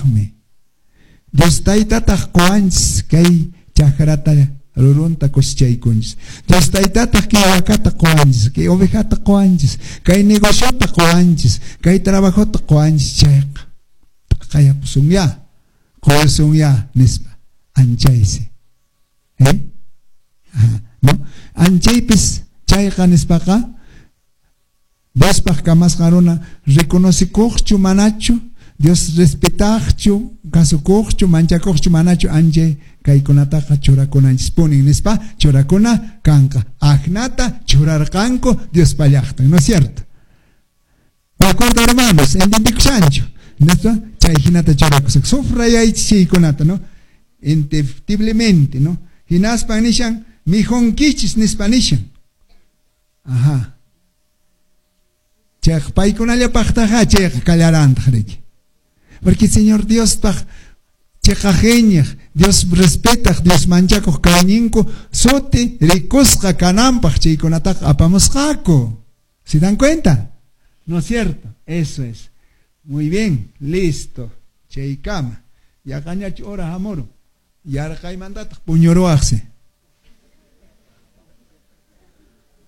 Diospaqmi. Dios Taytataq qowanchis kay chakrata rurunta cosechaykunchis. Dios Taytataq kay wakata qowanchis, kay ovejata qowanchis, kay negociota qowanchis, kay trabajota qowanchis chayqa. T'aqayapusunyá, qoyusunyá nispa anchaysi. ¿Eh? ¿No? Anchaypis chayqa nispaqa Diospaq kamasqan runa reconocekuqchu manachu, Dios respetaqchu, kasukuqchu, manchakuqchu manachu anchay kaykunataqa churakunanchispunin nispa churakuna kanqa. Aknata churarqanku Diospa llaqtan, ¿no es cierto? De acuerdo, hermanos, entendikushanchu? Nispa chay hinata churakusaq. Sufrayaychis chaykunata, ¿no? Indefectiblemente, ¿no? Hinaspan nishan mikhunkichis nispa nishan. Ajá. Chayqa paykunallapaqtaqa chayqa kallarantaq riki. Porque Señor Diospaq cheqaq iñiq, Dios respetaq, Dios manchakuq kayñinku suti rikusqa kananpaq chaykunataqa apamusqaku. ¿Se dan cuenta? ¿No es cierto? Eso es. Muy bien, listo. Chaykama. Yaqañachu hora hamurun. Yarqaymantataq puñuruwaqsi.